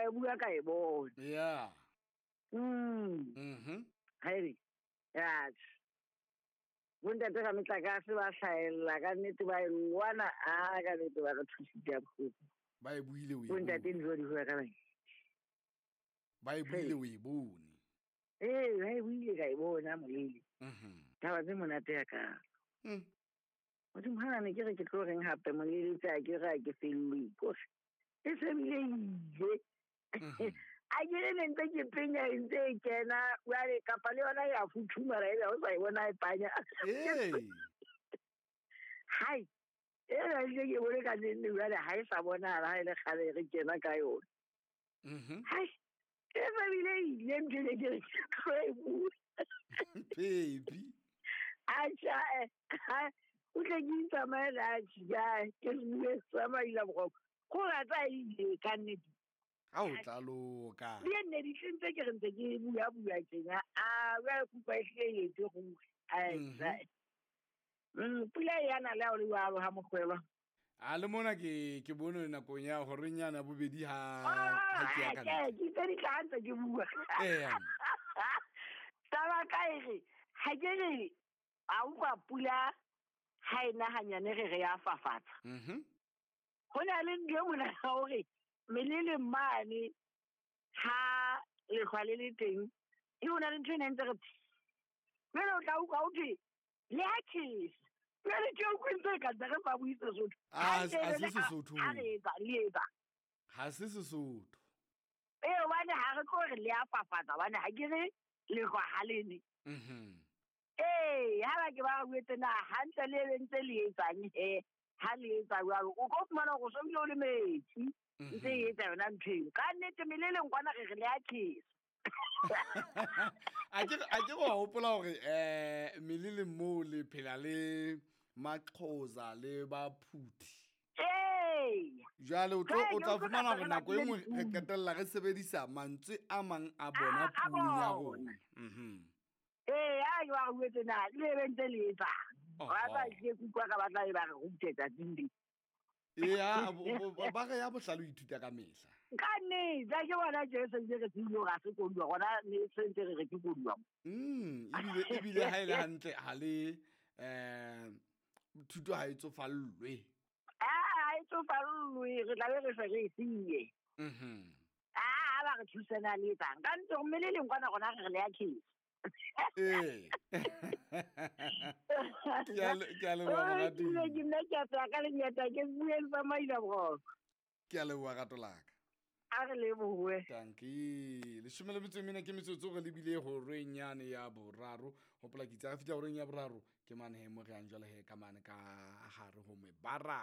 Ka e bua ka e bona. Yeah. Haere. Ya. Bontate ga metlakase ba hlaella ka nnete ba e lwana a ka nnete ba re thusitse ya bohloko. Ba e buile o e Bontate bone. dijo di bua ka bang. Ba e buile o e bone. Ee, ba e buile ka e bona molele. Taba tse monate ya ka. Modimo ha ne ke re ke tlo reng hape molele tse a ke re a ke fellwe kore. E se bile ile. A ke re ne ntse ke penya e ntse e kena jwale kapa le yona ya futhumala ebe ha o sa e bona e panya. Ee. Hai. E re ile ke bone ka nne jwale ha e sa bonahala ha e le kgale re kena ka yona. Hai. E se bile ile ntho e ke re ke tlo e bua. Baby. Atjha, o tle ke itsamaele atjhe, ja, ke se bue sa maila boroko. Ko rata e ile ka nnete. Ha o tla loka. Le nne di ntse ke re ntse ke bua bua tjena. A ba kupa e hle e etse go. Ai, pula ya na le ha o le jwalo ha mokwelwa. A le mona ke bone nakong ya hore nyana bobedi ha ke ya ka ntle. Ke tse di tla ntse ke bua. Ee. Taba ka e re, ha ke re, a utlwa pula ha e na hanyane re re ya fafatsa. Ho na le ntho e mona ya hore melele mane ha lehlwa le le teng, e ho na le ntho e neng ntse re jwale o tla utlwa ho thwe le ha tjhesa. Jwale ke utlwe ntse e ka ntse re sa bue Sesotho. Ah, Ha ha ke se re Sesotho. ha re etsa, le etsa. Ha se Sesotho. Ee, hobane ha re tlo re le a fafatsa, hobane ha ke re lehlwa ha le ne. Ee, ha ba ke ba re buetse na hantle le be ntse le etsang he, ha le etsa jwalo, o tlo fumana hore o so bile o le metsi. Ntse e etsa yona ntho eo. Ka nnete meleleng kwana re re le a tjhesa. A ke go hopola hore, meleleng moo le phela le Maxhosa le Baphuthi. Ee. Jwale Jwale o tla o tlo fumana hore tla nako e re nngwe re le qetella re sebedisa mantswe a mang a bona A puong ya bona. rona. Ee, ha ke ba re buetse na, le be ntse le etsang. Ba tla ke kutlwa ka ba tla e ba re rute tsatsing le. Ee, ba re ya bohlale o ithuta ka mehla. Ka nnete, ha ke bona Jesu ntse re tsebile hore ha se koduwa, rona ne se ntse re re ke koduwa. Ebile ha e le hantle, ha le, thuto ha e tsofallwe. Ha e tsofallwe, re tla be re se re e siye. Ha ba re thusana le etsang. Ka nnete, mme le leng kwana rona re re le ya tjhesa. Ee. Ke a ke a leboha, Oi, moratuwa. ke ile ke nna ke a tswa ka lenyata, ke bueng sa maila boroko. Ke a leboha, rato la ka. A re lebohe. Dankie. Leshome le metso e mene ke metsotso re lebile horeng yane ya boraro. Hopola ke itse ha re fihla horeng ya boraro, ke mane he mo re yang jwale he ka mane ka hare ho mebara.